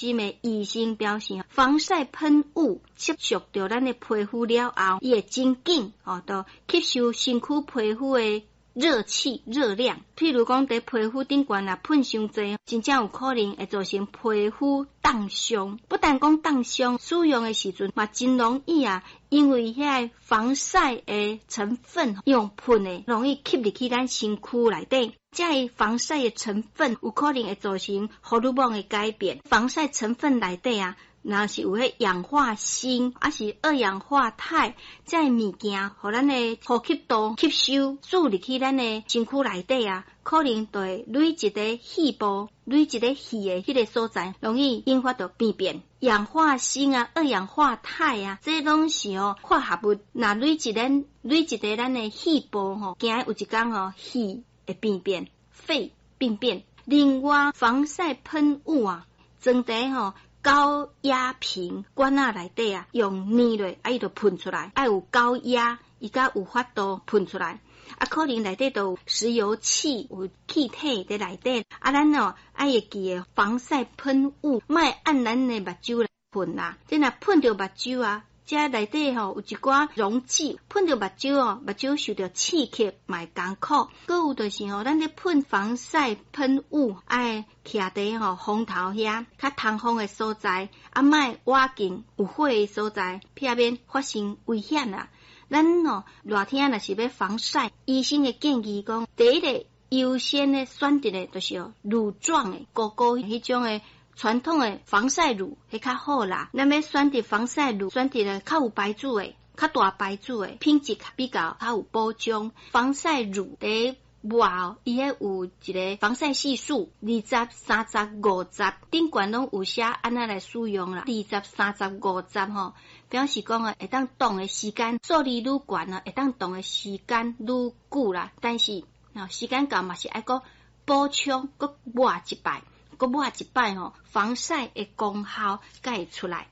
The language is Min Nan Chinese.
心的醫生表示，防曬噴霧接觸著咱的皮膚了後，伊會真緊哦，就吸收身軀皮膚的熱氣、熱量。譬如講，佇皮膚頂懸若噴傷濟，真正有可能會造成皮膚凍傷。不但講凍傷，使用的時陣嘛真容易啊，因為遐个防曬的成分用噴的，容易吸入去咱身軀內底。這个防曬的成分有可能會造成荷爾蒙的改變。防曬成分內底啊，若是有彼氧化鋅，抑是二氧化鈦，這个物件，予咱的呼吸道吸收，注入去咱的身軀內底啊，可能就會累積佇肺部，累積佇肺的彼个所在，容易引發著病變。氧化鋅啊，二氧化鈦啊，這攏是哦化合物，若累積佇咱的肺部吼，驚有一工吼肺會病變，肺病變。另外，防曬噴霧啊，裝佇吼高壓瓶罐仔內底啊，用捏落，啊伊就噴出來，愛有高壓，伊才有法度噴出來。啊，可能內底都有石油氣、有氣體佇內底。啊，咱哦愛會記得防曬噴霧，莫按咱的目睭來噴啦。這若噴著目睭啊，這內底吼有一寡溶劑，噴著目睭哦，目睭受著刺激嘛會艱苦。閣有就是吼，咱咧噴防曬噴霧，愛徛佇吼風頭遐較通風的所在，啊，莫倚近有火的所在，避免發生危險啦。咱哦熱天若是欲防曬，醫生會建議講，第一个優先的選擇的就是乳狀的、糊糊彼種的傳統的防曬乳，彼較好啦。咱欲選擇防曬乳，選擇的較有牌子的、較大牌子的，品質比較較有保障。防曬乳佇抹哦，伊彼有一个防曬係數，20、30、50，頂懸攏有寫按怎來使用啦。20、三十、五十吼，表示講啊，會當擋的時間，數字愈懸啊，會當擋的時間愈久啦。但是，時間到嘛是愛閣補充，閣抹一擺，閣抹一擺吼，防曬的功效才會出來。